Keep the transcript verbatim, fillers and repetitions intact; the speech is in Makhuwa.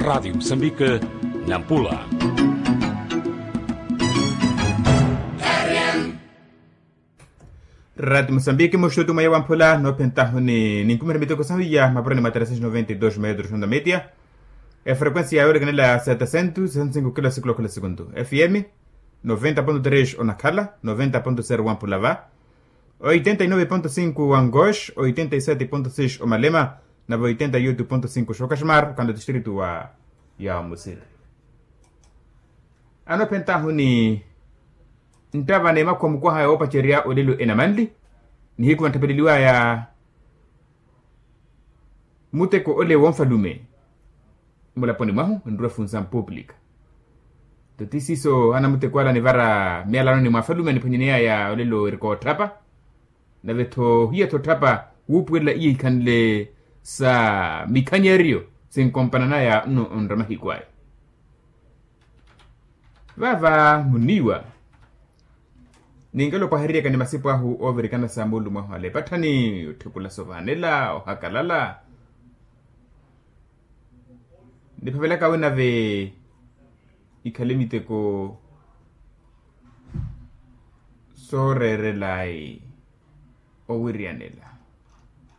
Rati musambike, nampula. Rati musambike muxutu mweya wamphula noophentahu ni ninkumira miteko sahu ya mapurani mwa trescentos noventa y dos metros honda media. Efrequencia ya yolekanela setecentos sessenta y cinco kilo sikula khula sekundu, fm noventa ponto tres onakhala noventa ponto zero wamphula va, oitenta y nove ponto cinco wa ngosh, oitenta y sete ponto seis omalema, nave oitenta y oito ponto cinco xookaximar okhanle otistritu wa ya omusiri. Anoophentahu ni nttava n'emakhuwa mukwaha yoopacerya olelo enamanli nihiku vantthapeleliwaya muteko ole wonfalume mulaponi mwahu nrwe funsa mpuplika. Toti siiso anamuteko ala anivara miyalanoni mwa afalume aniphwanyaneyaya olelo erika otthapa. Nave-tho hiya-tho otthapa wuupuwelela iya ihikhanle sa mikhanyeryo sinkompananaya nno onra mahiku aya. Vaava muniiwa ninkelo opwahereryaka ni masipu ahu oovirikana sa moolumo ahu ale epatthani otthepula sovaanela ohakalala niphavelaka awe nave ikhale miteko sooreerelayi owiriyanela.